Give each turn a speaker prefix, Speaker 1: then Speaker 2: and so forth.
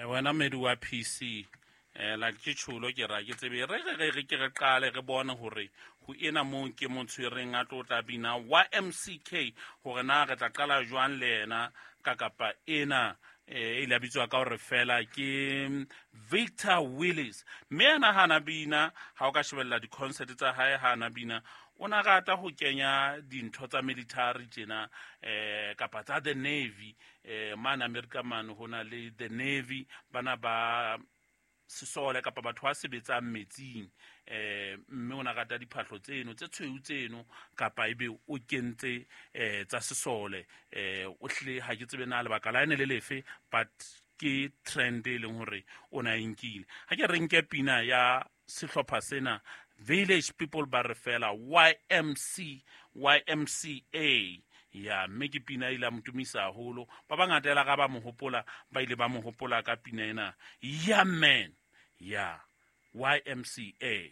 Speaker 1: Wena medi wa PC, like ke tjholo ke ra ke tsebe re re re re ke re qale re bone hore ho ena moo ke mo tshwereng a tlo tla bina YMCK, hore na re tla qala jwang le yena ka kapa ena. E ile a bitswa ka hore fela ke Victor Willis, mme ena ha na bina, ha o ka shebella di-concert tsa hae, ha na bina o na rata ho kenya dintho tsa military tjena, kapa tsa the navy. Mane America mane ho na le the navy, bana ba sesole kapa batho ba sebetsang metsing, mme o na rata diphahlo tseno tse tshweu tseno, kapa ebe o kentse tsa sesole. O hlile ha ke tsebe na lebaka la ene le lefe, but ke trend e leng hore o na e nkile. Ha ke re nke pina ya sehlopha sena Village People, ba re fela YMC, YMCA ya, mme ke pina e ile a mo tumisa haholo. Ba bangata ela ga ba mo hopola, ba ile ba mo hopola ka pina ena ya man ya YMCA.